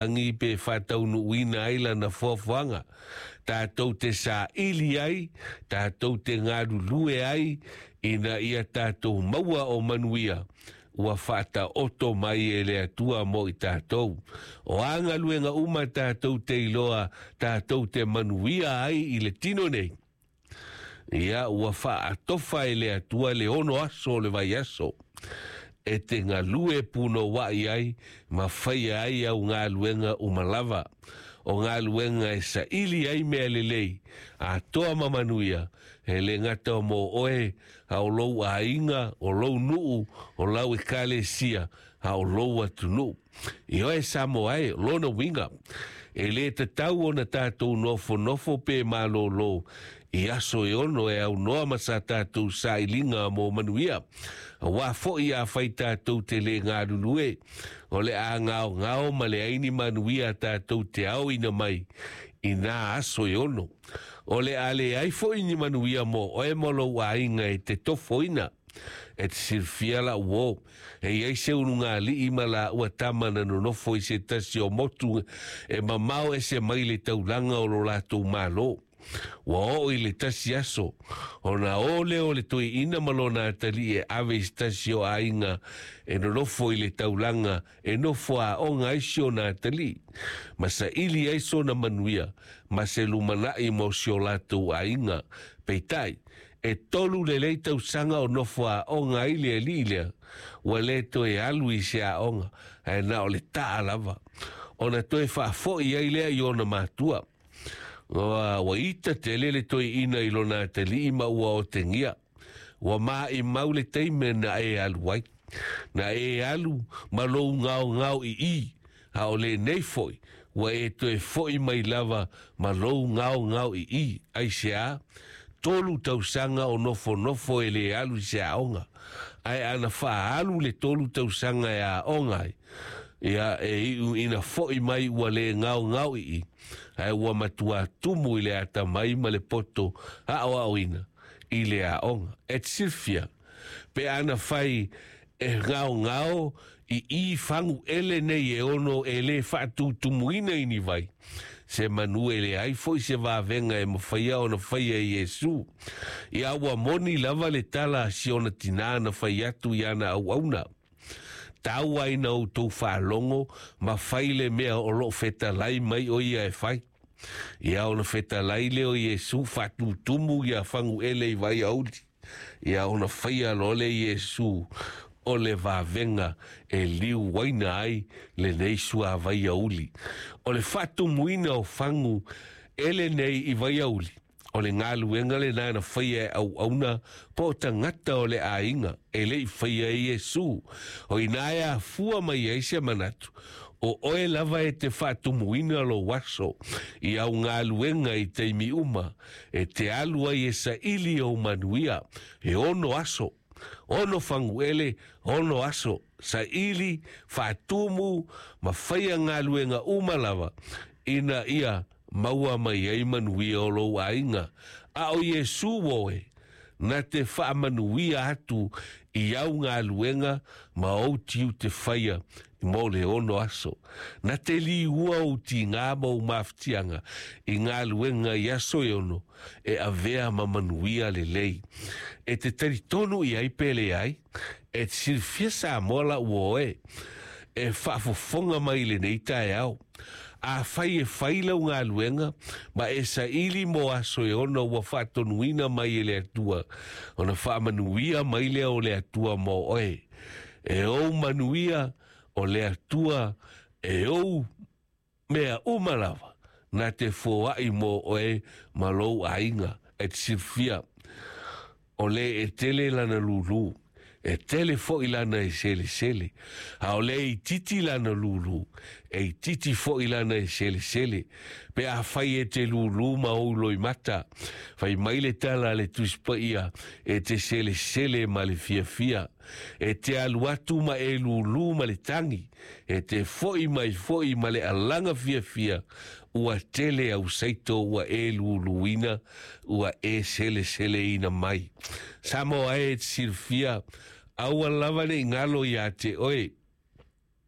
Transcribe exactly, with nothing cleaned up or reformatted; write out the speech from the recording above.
Lagi pe faataunuuina ai lana foafoaga, tatou te saili ai, tatou te galulue ai, ina ia tatou maua o manuia ua faataoto mai e le Atua mo i tatou. O a galuega uma tatou te iloa tatou te manuia ai i le tino nei, ia ua faatofa e le Atua le ono aso o le vaiaso e te galue punouai ai ma faia ai au galuega uma lava. O galuega e saili ai mea lelei atoa ma manuia, e le gata o mo oe, a o lou aiga, o lou nuu, o lau ekalesia, a o lou atunuu. I oe Samoa e, lona uiga, e lē tatau ona tatou nofonofo pe malōlō i aso e ono e aunoa ma sa tatou sailiga mo manuia. Auā foʻi afai tatou te lē galulue, o le a gaogao ma leai ni manuia tatou te aoina mai i nā aso e ono. O le a leai foʻi ni manuia mo oe ma lou aiga e te tofoina. E te silafia lau uō, e iai se ulugalii ma laua tama na nonofo i se tasi o motu e mamao ese mai le taulaga o lo latou mālō. Ua oo i le tasi aso, ona o lea o le toeaina ma lona atalii e ave i se tasi o aiga e nonofo i le taulaga e nofo aoga ai si ona atalii, ma saili ai sona manuia ma se lumanai mo si o latou aiga. Peitai, e tolu lelei tausaga o nofo aoga ai le alii lea, ua lē toe alu i se aoga, ae na o le taa lava. Ona toe faafoʻi ai lea i ona matua. Ua, ua ita tele le toeaina i lona atalii ma ua otegia. Ua maʻimau le taimi na e alu ai. Na e alu ma lou gaogao iī, a o lenei foʻi, ua e toe foʻi mai lava ma lou gaogao iī. Aiseā? Tolu tausaga o nofonofo e lē alu i se aoga. Ae ana faaalu le tolu tausaga e aoga ai, ia e iu ina foʻi mai ua lē gaogao iī, ae ua matuā tumu i le atamai ma le poto aʻoaʻoina i le aoga. E te silafia, pe ana fai e gaogao iī faguʻele nei e ono e lē faatutumuina i ni vai, se manu e leai foʻi se vavega e mafaia ona faia e Iesu. Ia ua moni lava le tala a si ona tinā na fai atu i ana auauna. Tau ai na outou faalogo ma fai le mea o loo fetalai mai o ia e fai. Ia ona fetalai lea o Iesu faatutumu ia faguʻele i vaiauli. Ia ona faia loa le Iesu o le vavega e liuaina ai lenei suāvai auli. O le faatumuina o fagu ele nei i vaiauli, o le galuega lenā na faia e auauna po o tagata o le aiga e leʻi faia e Iesu. O inā e afua mai ai se manatu, o oe lava e te faatumuina lou aso i au galuega i taimi uma, e te alu ai e saili ou manuia, e ono aso, ono faguʻele, ono aso, saili, faatumu, ma faia galuega uma lava, ina ia maua mai ai manuia o lou aiga. A o Iesu oe, na te faamanuia atu i au galuega ma ou tiute faia mo le ono aso. Na te liua ou tigā ma ou mafatiaga i galuega i aso e ono e avea ma manuia lelei. E te talitonu i ai pe leai, e te silafia Samoa lau uō e, e faafofoga mai lenei taeao. Afai e fai lau galuega ma e saili mo aso e ono ua faatonuina mai e le Atua, ona faamanuia mai lea o le Atua mo oe. E ou manuia o le Atua e ou mea uma lava na te foaʻi mo oe ma lou aiga. E te silafia, o le e tele lana lūlū, e tele foʻi lana e selesele, a o le itiiti lana lūlū, e itiiti foʻi lana e selesele. Pe afai e te lūlū ma ou loimata, fai mai le tala a le Tusi Paia e te selesele ma le fiafia, e te alu atu ma e lūlū ma le tagi, e te foʻi mai foʻi ma le alaga fiafia, ua tele au saito ua e lūlūina, ua e seleseleina mai. Samoa e, te silafia, aua lava neʻi galo iā te oe.